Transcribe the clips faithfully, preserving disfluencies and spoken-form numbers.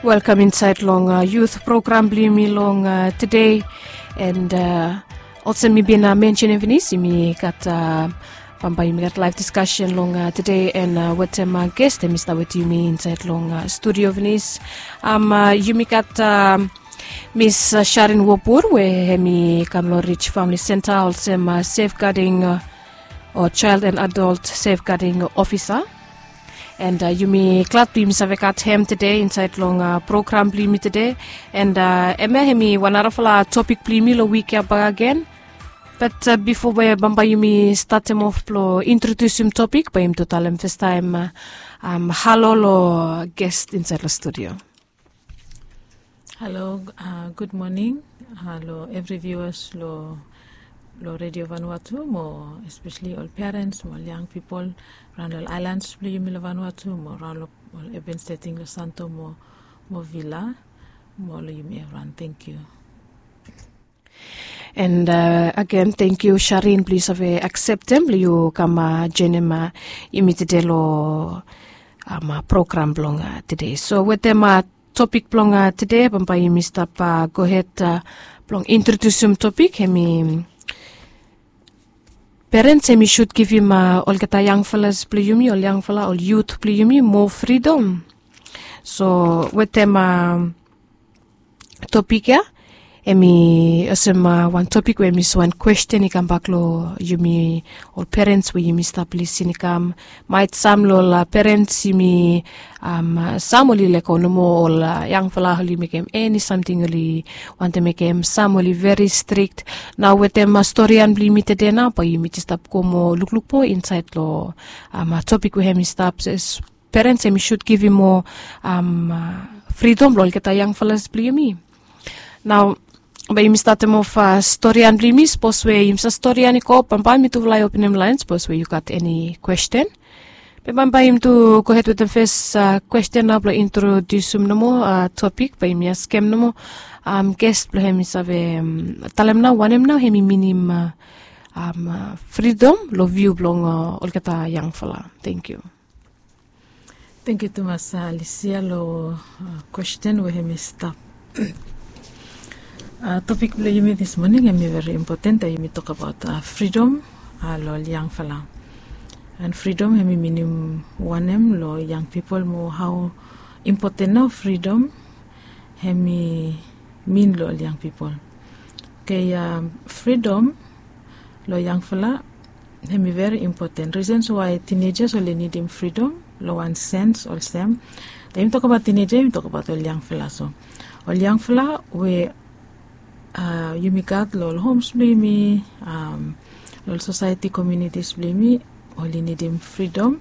Welkam insaed long yut program blong yumi long tede. And olsem mi bin mensenim finis, yumi gat bambae yumi gat laef diskasen long tede, and wetem ges, hemi stap wetem yumi insaed long studio finis. Yumi gat Miss Sharin Wobur, we hemi kam long Ridge Family Center olsem safeguarding o child and adult safeguarding officer. And yumi glad blong yumi save gat hem tede insaed long program blong yumi tede. And hemia hemi wan narafala topik blong yumi long wik ya bakegen. Bat bifo we bambae yumi statem of blong introdiusim topik, bae yumi tu talem fastaem halo long ges insaed long studio. Halo, gud moning long evri viuas long Redio Vanuatu, mo espeseli ol perens mo ol yang pipol raon long ol aelans blong yumi long Vanuatu, mo raon long ol aben seting long Santo mo Vila, mo long yumi evriwan. Tangkiu. And agen, tangkiu Sharin blong yu save akseptem blong yu kam joenem yumi tede long program blong tede. So wetem topik blong tede, bambae yumi stap gohed blong introdiusim topik, hemi perens, hemi sud givim olgeta yangfalas blong yumi, ol yangfala, ol yut blong yumi moa fridom. So wetem topik ya, hemi olsem wan topik we hemi wan kwesten i kambak long yumi ol perens we yumi stap lisin i kam. Maet sam long ol perens, yumi sam oli lego nomo ol yangfala oli mekem eni samting oli wantem mekem, sam oli veri strik. Nao wetem storian blong yumi tede nao, bae yumi jes stap go moa lukluk moa insaed long topik we hemi stap se perens hemi sud givim moa fridom long olgeta yangfalas blong yumi. Nao bae yumi statem of storian blong yumi. Sapos we yumi save storian i go, bambae mi tu lae openem laen sapos we yu gat eni kwesten. Be bambae yumi tu gohed wetem fes kwesten nao blong introdiusim nomo topik, bae yumi askem nomo ges blong hem i save talem nao wanem nao hemi minim fridom long viu blong olgeta yangfala. Tangkiu. Tangkiu tumas Alicia long kwesten we hemi stap. Topik blong yumi dis moning hemi veri impoten, yumi tokbaot fridom long ol yangfala. And fridom hemi minim wanem long yang pipol, mo hao impoten nao fridom hemi min long ol yang pipol. Oke, fridom long yangfala hemi veri impoten. Reasons why teenagers oli nidim fridom long wan sens olsem, taem yumi tokbaot teenager yumi tokbaot ol yangfala. So ol yangfala we yumi gat long ol homes blong yumi, long ol sosaeti, communities blong yumi, oli nidim fridom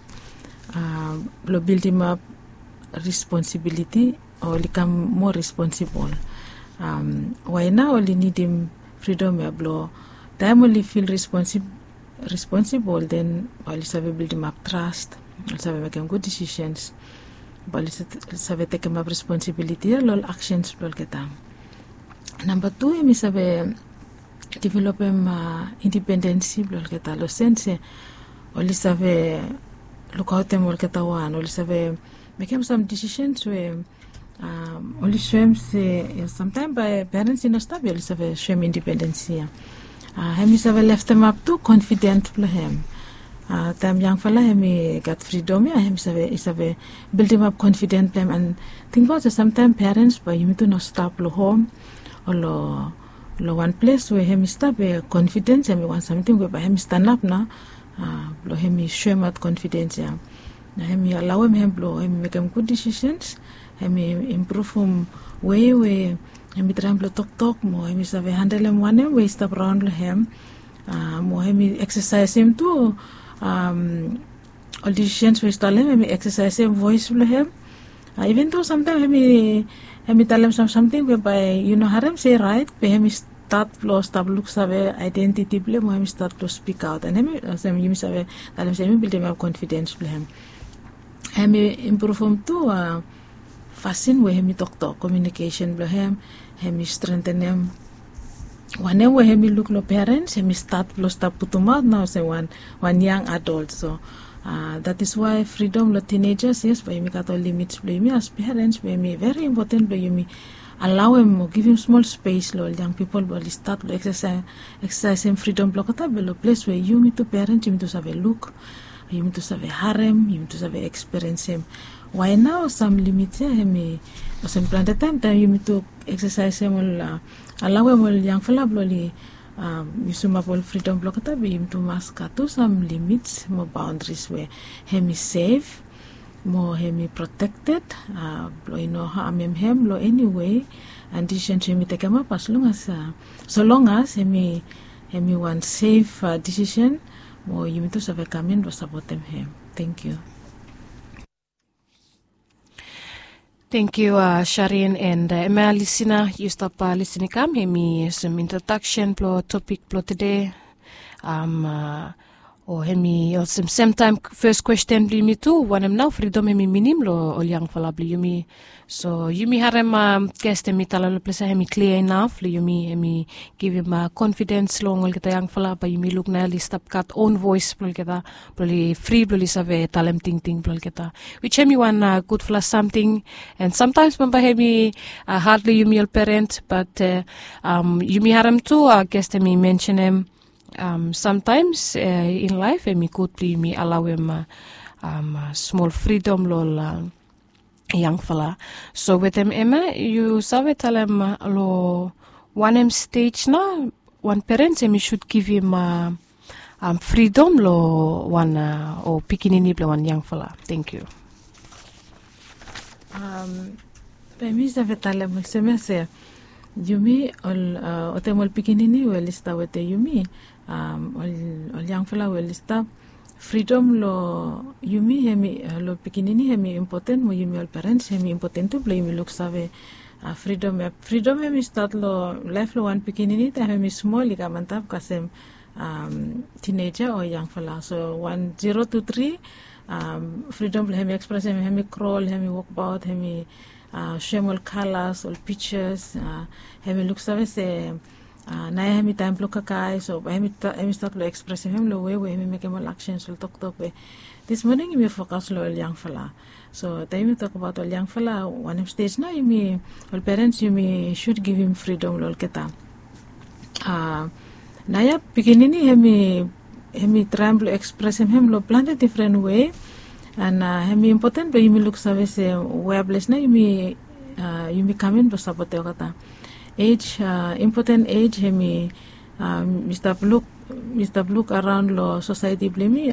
blong bildimap responsibiliti, oli kam moa responsibol. Wae nao oli nidim fridom ya? Blong taem oli fil responsibol, den oli save bildimap tras, oli save mekem gud disisens, bae oli save tekemap responsibiliti ya long ol aksens blong olgeta. Namba tu, hemi save developem indipendensi blong olgeta long sens se oli save lukaotem olgeta wan, oli save mekem sam disisens we oli soem se, samtaem bae perens i no stap ya, oli save soem indipendensi ya. Hemi save leftemap tu konfidens blong hem. Taem yangfala hemi gat fridom ya, hemi save, i save bildimap konfidens blong hem. And tingbaot se samtaem perens bae yumi tu no stap long hom o long wan ples we hemi stap we konfidens hemi wan samting we bae hemi stanap nao blong hemi soemaot konfidens ya. Na hemi alaoem hem blong hemi mekem gud disisens, hemi impruvum wei we hemi traem blong toktok, mo hemi save handelem wanem we i stap raon long hem. Mo hemi eksasaesem tu ol disisens we i stap long hem, hemi eksasaesem voes blong hem. Iven do samtaem hemi talem sam samting we bae yu no harem se i raet, be hemi stat blong stap luksave aedentiti blong hem, mo hemi stat blong spikaot. And hemi olsem yumi save talem se hemi bildimap konfidens blong hem. Hemi impruvum tu fasin we hemi toktok, komiunikesen blong hem, hemi strengtenem wanem we hemi luk long perens, hemi stat blong stap putumaot nao olsem wan yang adol. So That is why fridom long tinejas, yes, bae yumi gat ol limits blong yumi as perens, bae yumi veri impoten blong yumi alaoem o givim smol spes long ol yang pipol blong oli stat long eksesaesem fridom blong olgeta be long ples we yumi tu perens yumi tu save luk, yumi tu save harem, yumi tu save ekspiriensim. Wae nao sam limit ya hem i olsem plante taem taem yumi tu eksesaesem ol alaoem ol yangfala blong oli yusumap ol fridom blong olgeta be yumi tu mas gat tu sam limits mo baondaris we hem i sef mo hem i protekted, blong i no hamem hem long eni wei. An disisen so yumi tekemap as long as, solong as hem i wan sef disisen mo yumi tu save kam in blong sapotem hem. Tengkiu. Tengkiu, sharin and ema lisina yu stap lisin i kam hem i olsem introdaksen blong topik blong tude. O hem i olsem semtaem fes kwesten blong yumi tu, wanem nao fridom hem i minim long ol yangfala blong yumi? So yumi harem ges hem i talem long ples ya hem i klia inaf long yumi, hem i givim konfidens long olgeta yangfala bae yumi luk nao oli stap gat on voes blong olgeta blong oli fri blong oli save talem tingting blong olgeta, wis hem i wan gudfala samting. An samtaems bambae hem i had long yumi ol perens, bat yumi harem tu ges hem i mensenem samtaems in laef hem i gud blong yumi alaoem smol fridom long ol yangfala. So wetem ema yu save talem long wanem stej nao wan perens hem i sud givim fridom long wan o pikinini blong wan yangfala? Tengkiu. Bae mi save talem olsem ya se yumi ol wetem ol pikinini we oli stap wetem yumi, ol yangfala we oli stap, fridom long yumi hem i long pikinini hem i impoten mo yumi ol perens hem i impoten tu blong yumi luksave fridom ya. Fridom hem i stat long laef blong wan pikinini taem hem i smol i kam antap kasem tineja o yangfala. So wan zero tu tri, fridom blong hem i ekspresem, hem i krol, hem i wokbaot, hem i soem ol kalas, ol pijas, hem i luksave se nao ya hem i taem blong kakae. So bae hem i stat long ekspresem hem long wei we hem i mekem ol aksens, ol toktok we. Dis moning yumi fokas long ol yangfala. So taem yumi tokbaot ol yangfala, wanem stej nao yumi ol perens yumi sud givim fridom long olgeta? Nao ya pikinini hem i traem blong ekspresem hem long plante difren wei. An hem i impoten blong yumi luksave se wea ples nao yumi kam in blong sapotem olgeta. Ej, impoten ej hem i mi stap luk, mi stap luk araon long sosaeti blong yumi.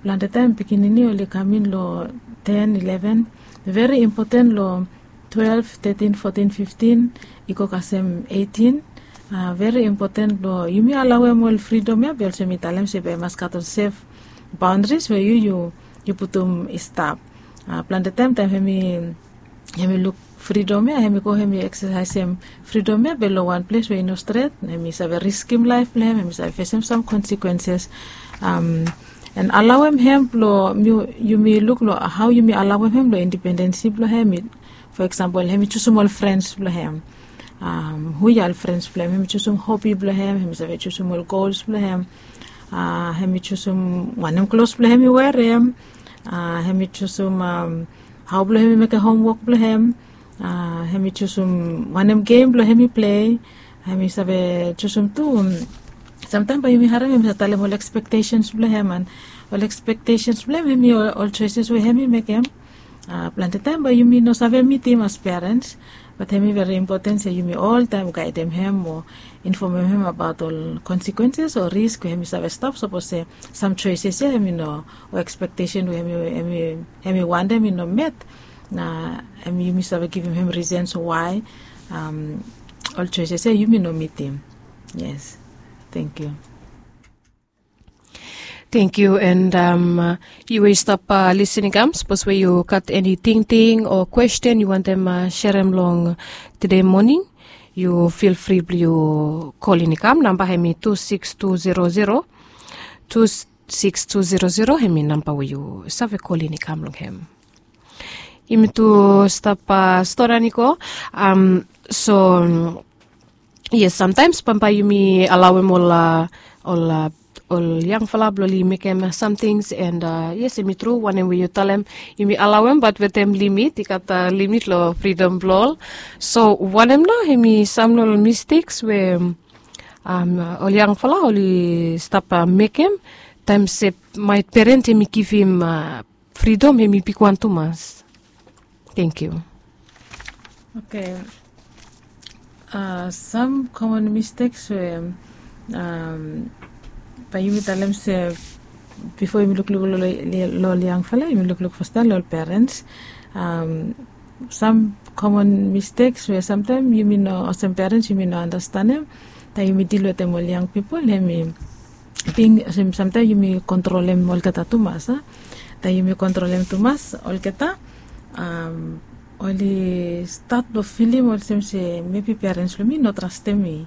Plante taem pikinini oli kam in long ten, ileven, veri impoten long twelef, tetin, fotin, fiftin, i go kasem eitin. Veri impoten blong yumi alaoem ol fridom ya be olsem mi talem se bae i mas gat ol sef baondaris we yu yu putum i stap. Plante taem taem hem i hem i luk fridom ya, hem i go hem i eksesaesem fridom ya be long wan ples we i no stret, hem i save riskim laef blong hem, hem i save fesem sam konsekwenses. An alaoem hem blong yumi luk long hao yumi alaoem hem long indipendensi blong hem. Fo eksampol hem i jusum ol frens blong hem. Hu ya ol frens blong hem? Hem i jusum hobi blong hem, hem i save jusum ol gols blong hem. Hem i jusum wanem klos blong hem i werem. Hem i jusum hao blong hem i mekem homwok blong hem. Hem i jusum wanem gem blong hem i plei. Hem i save jusum tu. Samtaem bae yumi harem hem i save talem ol ekspektesens blong hem an ol ekspektesens blong hem hem i ol soeses we hem i mekem. Plante taem bae yumi no save mitim as perens, bat hem i veri impoten se yumi oltaem gaedem hem o infomem hem abaot ol konsekwenses o risk we hem i save stap sapos se sam soeses ya hem i no, o ekspektesen we hem i wantem i no met. Na hem yumi save givim hem risens wae ol soeses ya yumi no mitim. Yes. Tengkiu. Tengkiu. An yu we yu stap lisin i kam, sapos we yu gat eni tingting o kwesten yu wantem serem long tude moning, yu fil fri blong yu kolin i kam. Namba hem i tu siks tu zero zero, tu siks tu zero zero hem i namba we yu save kolin i kam long hem. Yumi tu stap storian i go. So yes, samtaems bambae yumi alaoem ol ol ol yangfala blong oli mekem samting. And yes, em i tru wanem we yu talem, yumi alawem bat wetem limit, i gat limit long fridom blong ol. So wanem nao em i sam long ol misteks we ol yangfala oli stap mekem taem se maet peren em i givim fridom em i bigwan tumas. Thank you. Okay. Sam common misteks we bae yumi talem se bifo yumi lukluk long ol yangfala yumi lukluk fastaem long ol perens. Sam common misteks we samtaem yumi no olsem perens yumi no anastenem taem yumi dil wetem ol yang pipol, em i bing olsem samtaem yumi kontrolem olgeta tumas a. Taem yumi kontrolem tumas olgeta, oli stat blong filim olsem se mebi perens blong mi no trastem mi.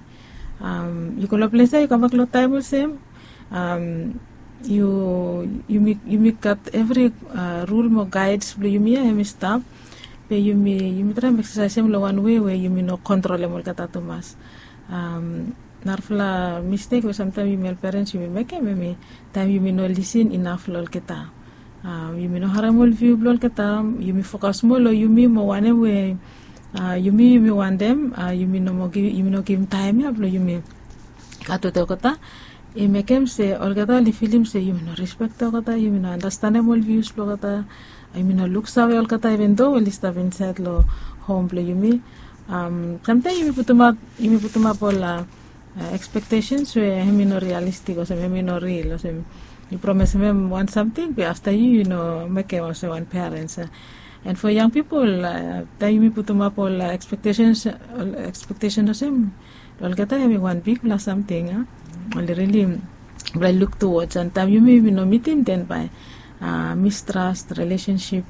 Yu go long ples ya yu kambak long taem olsem yu yumi gat evri rul mo gaeds blong yumi ya em i stap. Be yumi yumi traem eksesaesem long wan wei we yumi no kontrolem olgeta tumas. Narafala mistek we samtaem yumi ol perens yumi mekem em i taem yumi no lisin inaf long olgeta. Yumi no harem ol viu blong olgeta. Yumi fokas moa long yumi mo wanem we yumi yumi wantem. Yumi no givim taem ya blong yumi gat wetem olgeta. I mekem se olgeta oli filim se yumi no rispektem olgeta, yumi no anastenem ol vius blong olgeta, yumi no luksave olgeta even do oli stap insaed long hom blong yumi. Samtaem yumi putumap ol ekspektesens we hem i no rialistik olsem hem i no ril olsem yu promesim hem wan samting be afta yu yu no mekem olsem wan perens. And fo yang pipol taem yumi putumap ol ekspektesens olsem olgeta hem i wan bigpela samting a. Oli rili bae luk tuwods and taem yumi yumi no mitim den bae mistras rilesensip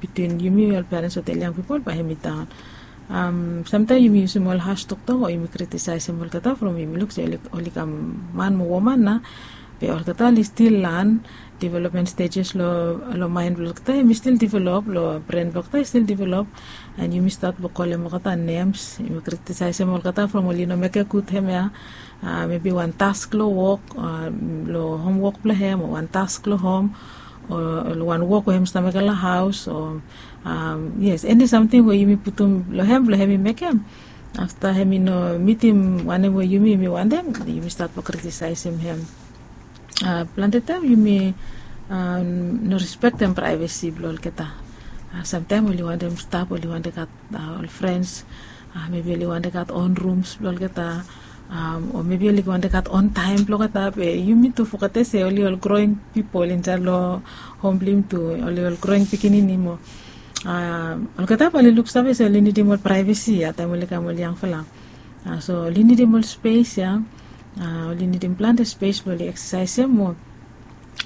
bitwin yumi ol perens wetem ol yang pipol bae hem i daon. Samtaem yumi yusim ol has toktok o yumi kritisaesem olgeta from yumi luk se oli kam man mo woman na. Be olgeta oli stil lan developmen stejes long maen blong olgeta hem i stil develop long bren blong olgeta i stil develop. And yumi stat blong kolem olgeta nems yumi kritisaesem olgeta from oli no mekem gud hem ya. Mebi wan task long wok long homwok blong hem o wan task long hom o wan wok we hem stap mekem long haos o yes eni samting we yumi putum long hem blong hem i mekem. Afta hem i no mitim wanem we yumi yumi wantem yumi stat blong kritisaesem hem. Plante taem yumi no rispektem praevesi blong olgeta. Samtaem oli wantem stap oli wantem gat ol frens, mebi oli wantem gat on rums blong olgeta o mebi oli wantem gat on taem blong olgeta be yumi tu fogete se oli ol groing pipol insaed long hom blong yumi tu oli ol groing pikinini mo olgeta bae oli luksave se oli nidim ol praevesi ya taem oli kam ol yangfala. So oli nidim ol spes ya. Oli nidim plante spes blong oli eksesaesem mo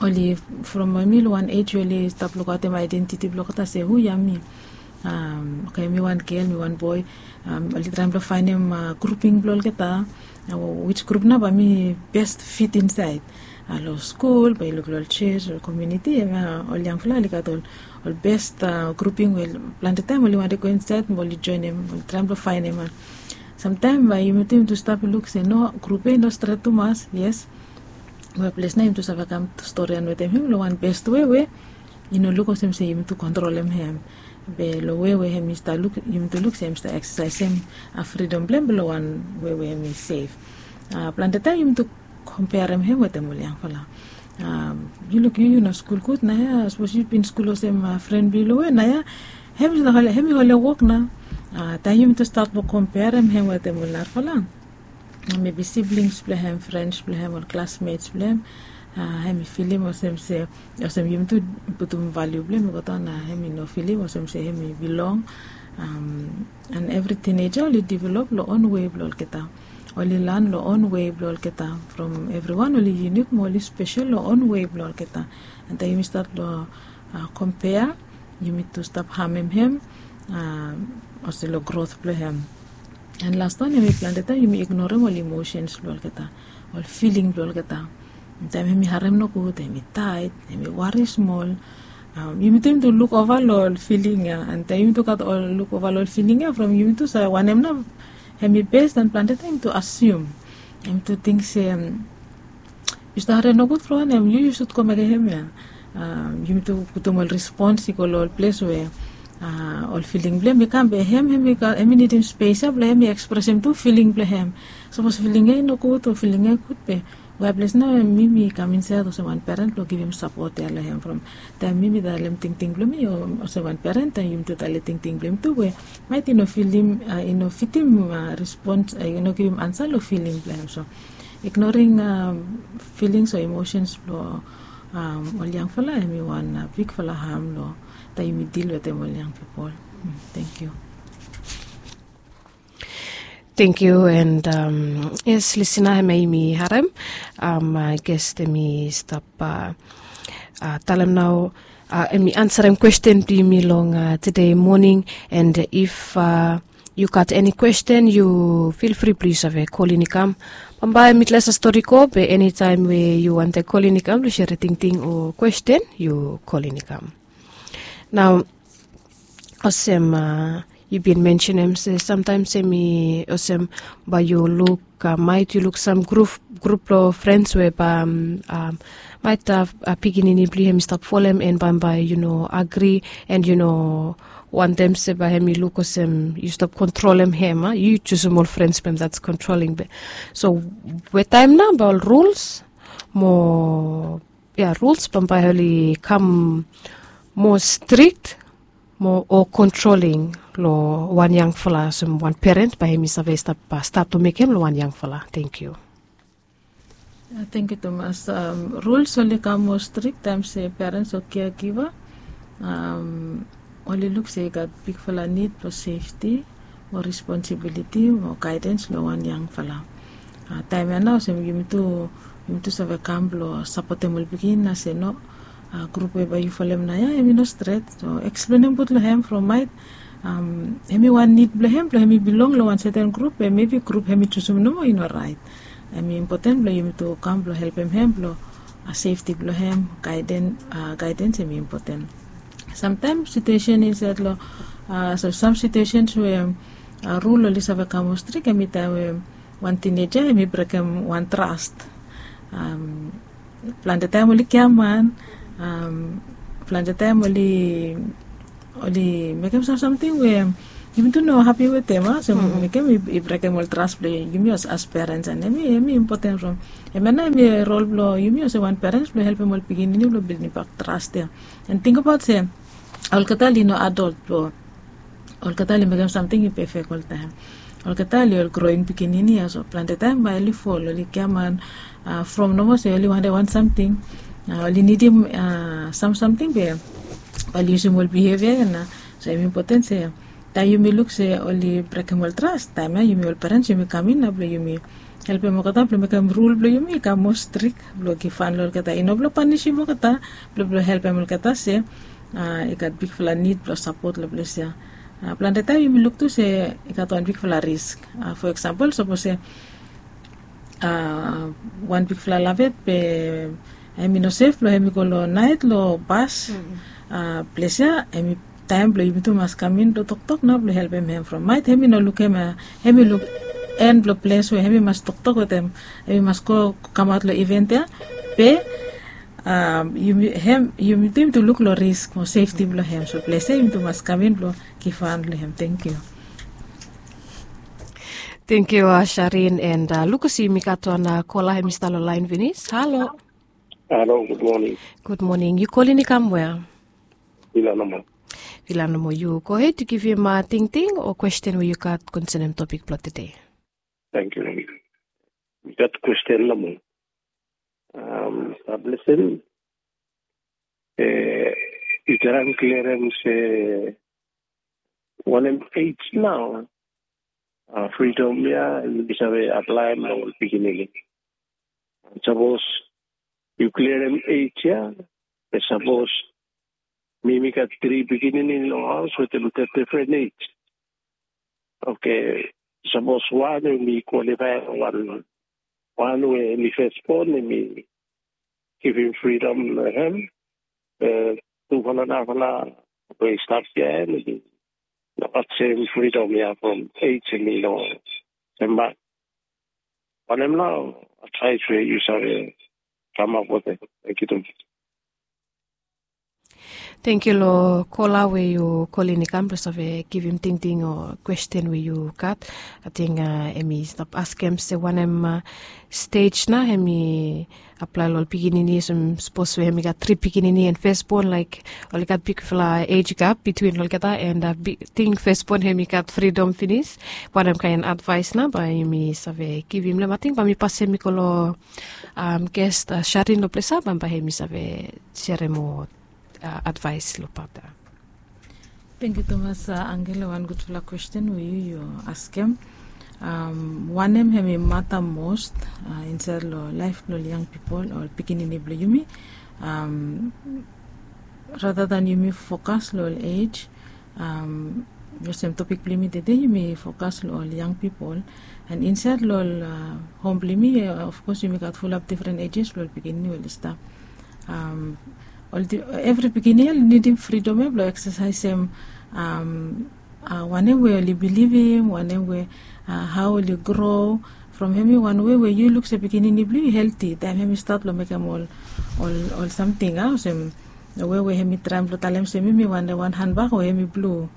oli from mi long wan ej we oli stap lukaotem aedentiti blong olgeta se hu ya mi. Oke mi wan gel mi wan boe. Oli traem blong faenem gruping blong olgeta, wis grup nao bae mi best fit insaed. Long skul bae yu luk long ol sios ol komiuniti em ya ol yangfala oli gat ol best gruping we plante taem oli wantem go insaed mo oli joenem oli traem blong faenem. Samtaem bae yumi tu yumi tu stap luk se no grup ya i no stret tumas yes. Be ples nao yumi tu save kam storian wetem hem long wan best we we i no luk olsem se yumi tu kontrolem hem. Be long we we hem i stap luk yumi tu luk se hem i stap eksesaesem fridom blong hem be long wan we we hem i sef. Plante taem yumi tu komperem hem wetem ol yangfala. Yu luk yu yu no skul gud nao ya sapos yu bin skul olsem fren blong yu long we nao ya hem i holem wok nao. Taem yumi tu stat blong komperem hem wetem ol narafala mebi siblings blong hem frens blong hem ol klasmets blong hem hem i filim olsem se olsem yumi tu putum valiu blong hem i go daon na hem i no filim olsem se hem i bilong. And evri tineja oli develop long on wei blong olgeta. Oli lan long on wei blong olgeta from evriwan oli yunik mo oli spesel long on wei blong olgeta. And taem yumi stat long kompea yumi tu stap hamem hem olsem long grot blong hem. And laswan hem i plante taem yumi ignorem ol imosens blong olgeta, ol filing blong olgeta. Taem hem i harem nogud hem i taet hem i wari smol. Yumi tu yumi tu luk ova long ol filing ya and taem yumi tu gat ol luk ova long ol filing ya from yumi tu save wanem nao hem i bes dan plante taem yumi tu asium. Yumi tu ting se Yu stap harim nogud from wanem? Yu yu sud go mekem hem ya. Yumi tu putum ol respons i go long ol ples we ol filing blong hem i kam be hem hem i nidim spes ya blong hem i ekspresem tu filing blong hem. Sapos filing ya i nogud o filing ya i gud be wae ples nao mi mi kam insaed olsem wan peren blong givim sapot ya long hem from taem mi mi talem tingting blong mi o olsem wan peren taem yumi tu talem tingting blong hem tu we maet i no filim i no fitim respons i no givim ansa long filing blong hem. So ignoring filings o emosens blong ol yangfala hem i wan bigfala ham long taem yumi dil wetem ol yang pipol. Thank you. Thank you and yes, lisina hem ya yumi harem. Ges hem i stap talem nao hem i ansarem kwesten blong yumi long tede moning. And if yu gat eni kwesten yu fil fri blong yu save kolin i kam. Bambae mitles a stori go be enitaem we yu wantem kolin i kam blong sere tingting o kwesten yu kolin i kam. Nao olsem yu bin mensenem se samtaem se mi olsem bae yu luk maet yu luk sam grup grup blong frens we bae maet pikinini blong yu hem i stap folem and bambae yu no agri and yu no wantem se bae hem i luk olsem yu stap kontrolem hem a yu jusum ol frens blong hem dats kontroling be. So we taem nao bae ol ruls mo ya ruls bambae oli kam moa strik mo o kontroling long wan yangfala olsem wan peren bae hem i save stap stat o mekem long wan yangfala. Thank you. Thank you tumas. Ruls oli kam moa strik taem se perens o keagiva oli luk se i gat bigfala nid blong sefti mo responsibiliti mo gaedens long wan yangfala. Taem ya nao olsem yumi tu yumi tu save kam blong sapotem ol pikinini na se no grup we bae yu folem nao ya hem i no stret. So eksplenem gud long hem from maet hem i wan nid blong hem blong hem i bilong long wan seten grup we mebi grup hem i jusum nomo i no raet. Hem i impoten blong yumi tu kam blong helpem hem blong sefti blong hem gaedens hem i impoten. Samtaem situesen insaed long sam situesens we rul oli save kam moa strik hem i taem we wan tineja hem i brekem wan tras. Plante taem oli kiaman plante taem oli oli mekem sam samting we yumi tu no hapi wetem a so mekem i brekem ol tras blong yumi olsem as perens and hem i impoten from hem ya nao hem i rol blong yumi olsem wan perens blong helpem ol pikinini blong bildimbak tras ya. And tingbaot se olgeta oli no adolt blong olgeta oli mekem samting i pefek oltaem. Olgeta oli ol groing pikinini ya so plante taem bae oli fol oli giaman from nomo se oli wantem wan samting oli nidim sam samting be bae oli yusim ol bihevia ya na. So hem impoten se taem yumi luk se oli brekem ol tras taem ya yumi ol perens yumi kam in na blong yumi helpem olgeta blong mekem rul blong yumi i kam moa strik blong givhan long olgeta i no blong panisim olgeta blong blong helpem olgeta se i gat bigfala nid blong sapot long ples ya. Plante taem yumi luk tu se i gat wan bigfala risk. Fo eksampol sapos se wan bigfala lavet be hem i no sef blong hem i go long naet long bas ples ya hem i taem blong yumi tu mas kam in blong toktok nao blong helpem hem from maet hem i no lukem hem i luk en blong ples we hem i mas toktok wetem hem i mas go kamaot long iven ya. Be yumi hem yumi tu yumi tu luk long risk mo sefti blong hem so ples ya yumi tu mas kam in blong givhan long hem. Thank you. Thank you sharin and lukus yumi gat wan kola hem i stap long laen finis. Halo. Halo, gud moning. Gud moning. Yu kolin i kam wea? Vila nomo. Vila nomo yu gohed yu givim tingting o kwesten we yu gat konsenem topik blong tede. Thank you. Mi gat kwesten nomo. Stap lesen. Yu traem klerem se wanem ej nao fridom ya yu save aplaem long ol pikinini? Sapos yu klerem ej ya be sapos mi mi gat tri pikinini long haos wetem difren ej. Oke, sapos wan we mi kwalifae long wan wan we mi fesbon mi givim fridom long hem be tufala nafala we i stap ya em i no gat sem fridom ya from ej em i no sem bak. Wanem nao advaes we yu save Kamap olsem. Thank you too much. Thank you long kola we yu kolin i kam blong save givim tingting o kwesten we yu gat. Ating em i stap askem se wanem stej na em i aplae long ol pikinini olsem sapos we em i gat tri pikinini en fesbon laik ol i gat bigfala ej gap bitwin olgeta en ting fesbon em i gat fridom finis. Wanem kaen advaes na bae yumi save givim long em ating bae mi pasem i go long ges sharin long ples ya bae em i save serem moa advaes long pat ya. Tengkiu tumas angel long wan gudfala kwesten we yu yu askem. Wanem hem i mata mos insaed long laef blong ol yang pipol o pikinini blong yumi? Rata dan yumi fokas long ol ej olsem topik blong yumi tede yumi fokas long ol yang pipol. An insaed long ol hom blong yumi, ofkos yumi gat fulap difren ejes blong ol pikinini we oli stap. Evri pikinini oli nidim fridom ya blong eksasaesem wanem we oli bilivim, wanem we hao oli gro. From hem i wan we we yu luk se pikinini blong yu i helti taem hem i stat long mekem ol ol samting a olsem we we hem i traem blong talem se mi mi wantem wan hanbak we hem i blu.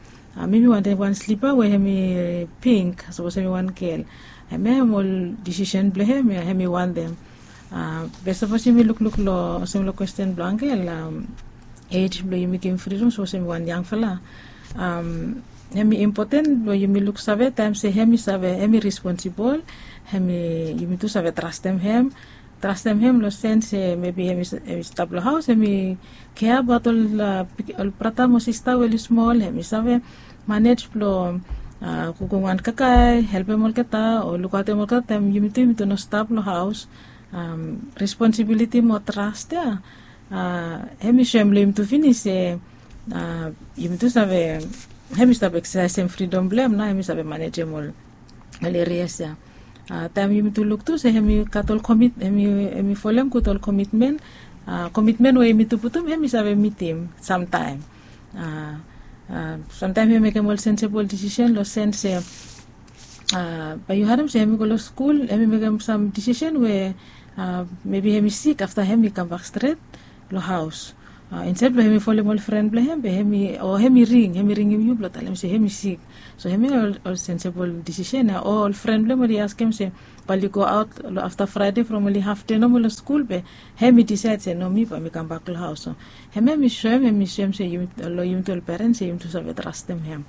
Mi mi wantem wan slipa we hem i pink sapos hem i wan gel. Hem ya hem ol disisen blong hem ya hem i wantem. Be sapos yumi lukluk long olsem long kwesten blong angel ej blong yumi givim fridom sapos hem i wan yangfala. Hem i impoten blong yumi luksave taem se hem i save hem i responsibol. Hem i yumi tu save trastem hem trastem hem long sen se mebi hem i stap long haos hem i kea abaot ol brata mo sista we oli smol hem i save manej blong kukum wan kakae helpem olgeta o lukaotem olgeta taem yumi tu yumi tu no stap long haos. Responsibiliti mo tras ya hem i soem long yumi tu finis se yumi tu save hem i stap eksasaesem fridom blong hem nao hem i save manejem ol ol erias ya. Taem yumi tu luk tu se hem i gat ol komit hem i folem gud ol komitmen. Komitmen we yumi tu putum hem i save mitim samtaem. Samtaem hem i mekem ol sensebol disisen long sen se bae yu harem se hem i go long skul hem i mekem sam disisen we mebi hem i sik afta hem i kambak stret long haos. Insaed blong hem i folem ol fren blong hem be hem i o hem i ring hem i ringim yu blong talem se hem i sik. So hem ya ol sensebol disisen ya o ol fren blong hem oli askem se bae oli goaot long afta fraede from oli hafde nomo long skul be hem i disaed se no mi bae mi kambak long haos. So hem ya hem i soem hem i soem se long yumi tu ol perens se yumi tu save trastem hem.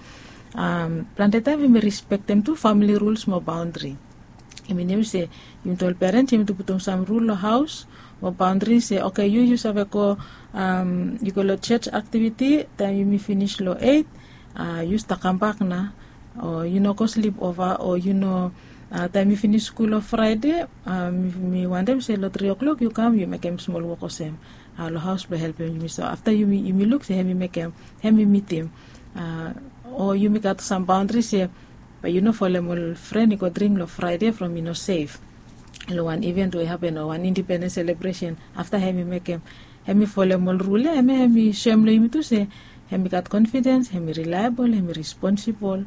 Plante taem hem i rispektem tu famili ruls mo baondri. I minim se yumi tu ol perens yumi tu putum sam rul long haos mo baondri se oke yu yu save go yu go long joj aktiviti taem yumi finis long eit. Yu stap kambak nao o yu no go slip ova o yu no taem yu finis skul long fraede mi wantem se long tri o'klok yu kam yu mekem smol wok olsem long haos blong helpem yumi so afta yumi luk se hem i mekem hem i mitim o yumi gat sam baondri se bae yu no folem ol fren i go dring long fraede from i no sef. Long wan iven we i hapen o wan indipendens selebresen afta hem i mekem hem i folem ol rul ya hem ya hem i soem long yumi tu se hem i gat konfidens hem i rilaebol hem i responsibol.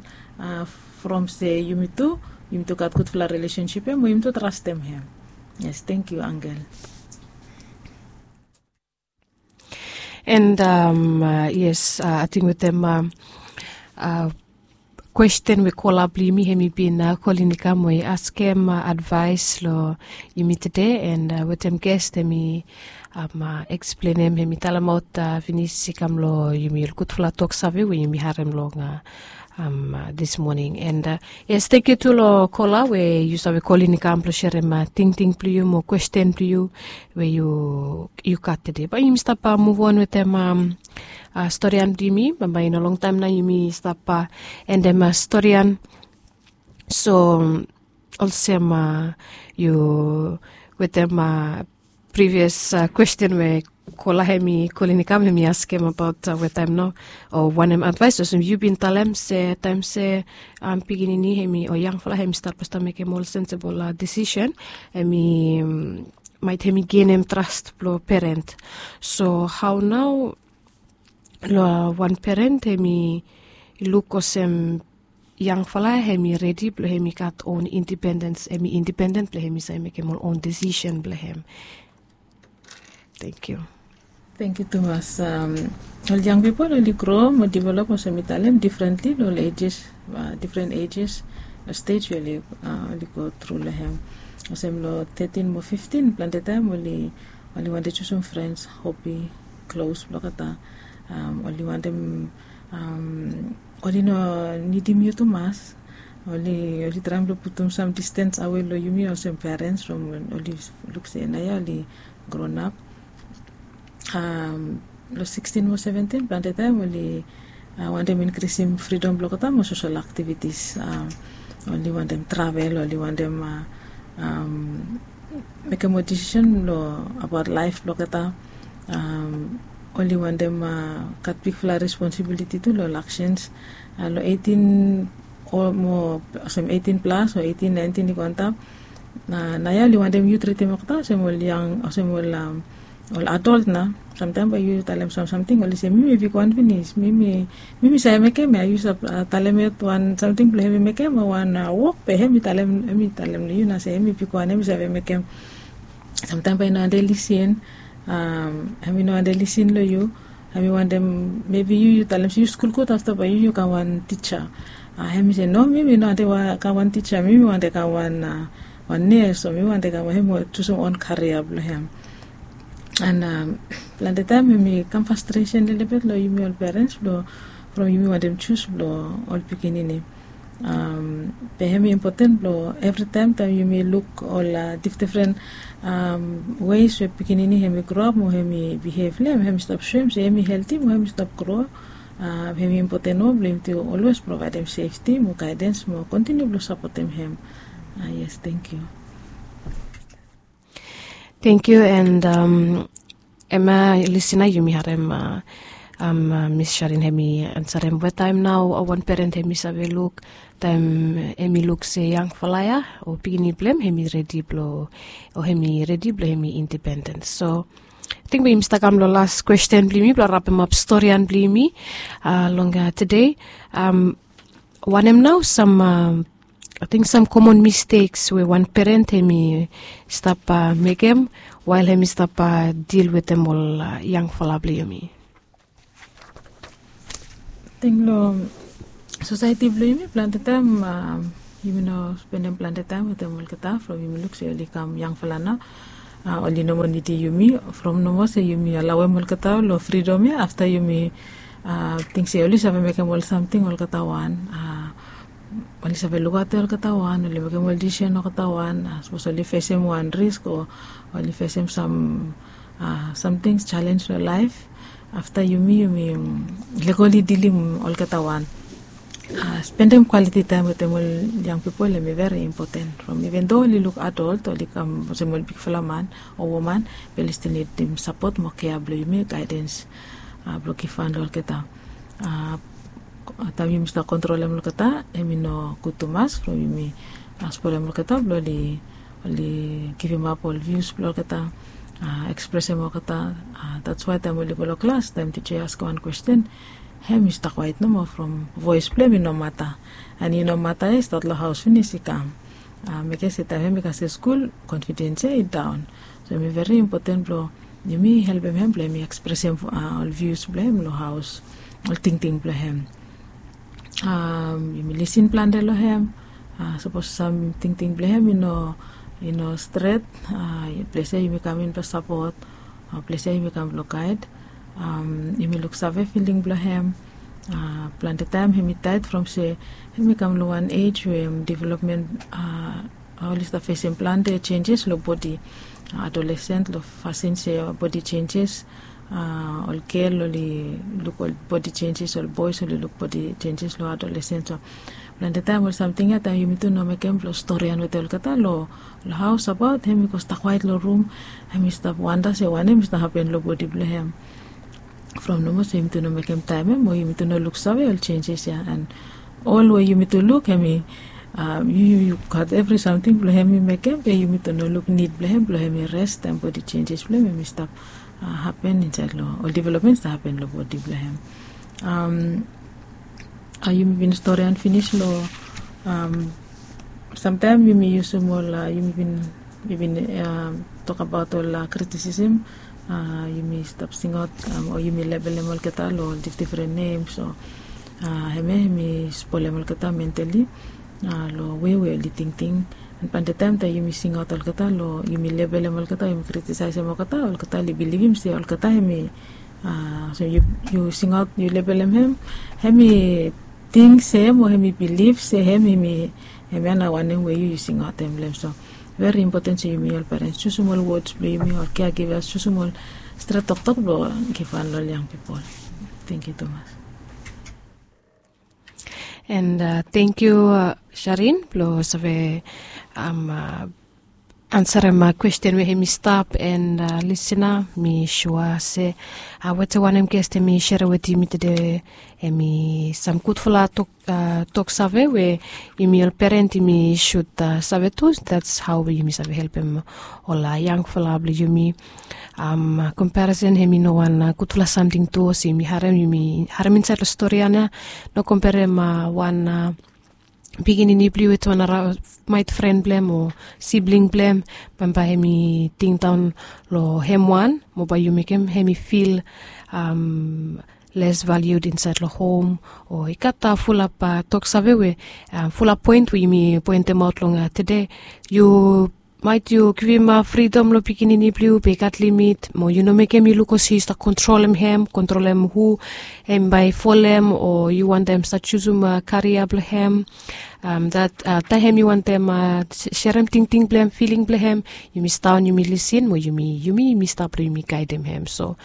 From se yumi tu yumi tu gat gudfala relesensip ya mo yumi tu trastem hem. Yes tengkiu angel. And yes ating wetem kwesten we kola blong yumi hem i bin kolin i kam we i askem advaes long yumi tede and wetem ges hem i eksplenem hem i talemaot finis i kam long yumi ol gudfala toksave we yumi harem long dismoning and yes tengkiu tu long kola we yu save kolin i kam blong serem tingting blong yu mo kwesten blong yu we yu gat tede bae yumi stap muvon wetem storian blong yumi bambae i no longtaem nao yumi stap endem storian. So olsem yu wetem privios kwesten we kola hem i kolin i kam hem i askem abaot wetaem nao o wanem advaes olsem yu bin talem se taem se pikinini hem i o yangfala hem i stat blong stap mekem ol sensebol disisen hem i maet hem i genem tras blong peren. So hao nao long wan peren hem i luk olsem yangfala hem i redi blong hem i gat on indipendens hem i indipenden blong hem i save mekem ol on disisen blong hem. Thank you. Thank you tumas. Ol yang pipol oli gro mo develop olsem mi talem differently lo ol ages, different ages, lo stage we oli go tru lo hem. Olsem lo thirteen mo fifteen plante taem oli wantem jusum friends, hobby, close blo olgeta. Oli wantem oli no nidim yu tumas. Oli traem blo putum sam distance awe lo yumi olsem parents from oli luk se naoia oli grown up. Lo sixteen mo seventeen plante taem oli wantem inkrisim fridom blo olgeta mo sosol aktivitis. Oli wantem travel, oli wantem mekem ol disisen lo abaot laef blo olgeta. Oli wantem gat bigfala responsibiliti tu lo ol aksens. Lo eighteen o mo olsem eighteen plas o eighteen nineteen i go antap. Naoia oli wantem yu tritim olgeta olsem ol yang olsem ol ol adolt nao. Samtaem bae yu talem sam samting oli se mi mi bigwan finis, mi mi save mekem ya, yu save talem yet wan samting blong hem i mekem o wan wok be hem i talem hem i talem long yu nao se hem i bigwan hem i save mekem. Samtaem bae i no wantem lisin. Hem i no wantem lisin long yu. Hem i wantem mebi yu yu talem se yu skul gud afta bae yu yu kam wan tija. Hem i se no, mi mi no wantem kam wan tija, mi mi wantem kam wan wan nes o mi wantem kam wan hem i jusum on karia blong hem. An plante taem hem i kam fastresen lelebet long yumi ol perens blong from yumi wantem jus blong ol pikinini. Be hem i impoten blong evritaem taem yumi luk ol difdifren weis we pikinini hem i groap mo hem i bihev long hem hem i stap soem se hem i helti mo hem i stap gro. Hem i impoten moa blong yumi tu olwes provaedem sefti mo gaedens mo kontiniu blong sapotem hem. Yes, tengkiu. Tengkiu. And em ya lisina yumi harem. Mis sharin hem i ansarem we taem nao wan peren hem i save luk taem hem i luk se yangfala ya o pikinini blong hem hem i redi blong o hem i redi blong hem i indipendens. So ating bae yumi stap kam long las kwesten blong yumi blong rapemap storian blong yumi long tude. Wanem nao sam ating sam komon misteks we wan peren hem i stap mekem wael hem i stap dil wetem ol yangfala blong yumi? Ating long sosaeti blong yumi plante taem yumi no spendem plante taem wetem olgeta from yumi luk se oli kam yangfala nao. Oli no moa nidim yumi from no moa se yumi alauem olgeta long fridom ya afta yumi ting se oli save mekem ol samting olgeta wan. Oli save lukaotem olgeta wan, oli mekem ol disisen olgeta wan. Sapos oli fesem wan risk o oli fesem sam samting jalens long laef, afta yumi yumi lego oli dilim olgeta wan. Spendem kwaliti taem wetem ol yang pipol hem i veri impoten from iven do oli luk adolt oli kam olsem ol bigfala man o woman, be oli stil nidim sapot mo kea blong yumi, gaedens blong givhan long olgeta. Taem yumi stap kontrolem olgeta hem i no gud tumas from yumi spolem olgeta blong oli givimap ol vius blong olgeta, ekspresem olgeta. Dats wae taem oli go long klas taem tija i askem wan kwesten, hem i stap kwaet nomo from voes blong hem i no mata. An i no mata ya i stat long haos finis i kam. Mekem se taem hem i kasem skul konfidens ya i daon. So hem i veri impoten blong yumi helpem hem blong hem i ekspresem ol vius blong hem long haos, ol tingting blong hem. Yumi lisin plante long hem. Sapos sam tingting blong hem i no stret, ples ya yumi kam in blong sapot. Ples ya yumi kam blong gaed. Yumi luksave filing blong hem. Plante taem hem i taet from se hem i kam long wan ej we developmen oli stap fesem plante jenjes long bodi. Adolesen long fasin se bodi jenjes. Ol gel oli luk ol bodi jenjes, ol boes oli luk bodi jenjes long adolesen. So plante taem ol samting ya taem yumi tu no mekem blong storian wetem olgeta long haos abaot hem i go stap kwaet long rum. Hem i stap wanda se wanem i stap hapen long bodi blong hem. From nomo se yumi tu no mekem taem ya mo yumi tu no luksave ol jenjes ya. An ol we yumi tu luk hem i yu yu gat evri samting blong hem i mekem be yumi tu no luk nid blong hem blong hem i res taem bodi jenjes blong hem hem i stap hapen insaed long ol developmen i stap hapen long bodi blong hem. Yumi bin storian finis long samtaem yumi yusum ol yumi bin yumi bin tokabaot ol kritisim Yumi stap singaot o yumi lebelem olgeta long ol difdifren nem. So hemia hemi spolem olgeta mentali long we we oli tingting. An plante taem taem yumi singaot olgeta long yumi lebelem olgeta, yumi kritisaesem olgeta, olgeta oli bilivim se olgeta hemi, so yu singaot yu lebelem hem, hemi ting se hem o hemi bilif se hem hemi, hemia nao wanem we yu singaotem long hem. So veri impoten se yumi ol perens jusum ol wods blong yumi, ol keagivas jusum ol stret toktok blong givhan long ol yang pipol. Tengkiu tumas. And tengkiu Sharin blong save ansarem kwesten we hemi stap. And lisina, mi sua se wetem wanem gest hemi serem wetem yumi tede, hemi sam gudfala toksave we yumi ol peren yumi sud save tu. That's how we yumi save helpem ol yangfala blong yumi. Komparison hemi no wan gudfala samting tu. Olsem yumi harem, yumi harem insaed long stori ya, no komperem wan pikinini blong yu wetem wan naraomaet fren blong hem o sibling blong hem. Bambae hemi tingdaon long hem wan, mo bae yu mekem hemi fil les valued insaed long hom. O i gat fulap toksave we, fulap poen we yumi poentemaot long tede. Yu maet yu givim fridom long pikinini blong yu, be i gat limit, mo yu no mekem i luk olsem yu stap kontrolem hem, kontrolem hu hem bae i folem, o yu wantem stap jusum karia blong hem. Taem yu wantem serem tingting blong hem, filing blong hem, yumi sidaon, yumi lisin, mo yumi, yumi stap blong yumi gaedem hem. So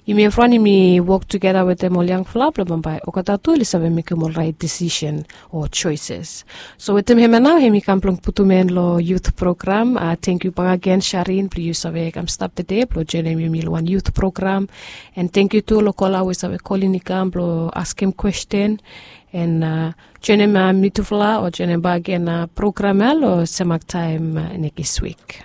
yumi evriwan yumi wok tugeta wetem ol yangfala blong bambae olgeta tu oli save mekem ol raet disisen o joeses. So wetem hemia nao hemi kam blong putum en long yut program. Tengkiu bakegen Sharin blong yu save kam stap tede blong joenem yumi long wan yut program. And tengkiu tu long kola we save kolin i kam blong askem kwesten. And joenem mitufala o joenem bakegen program ya long semak taem nekis wik.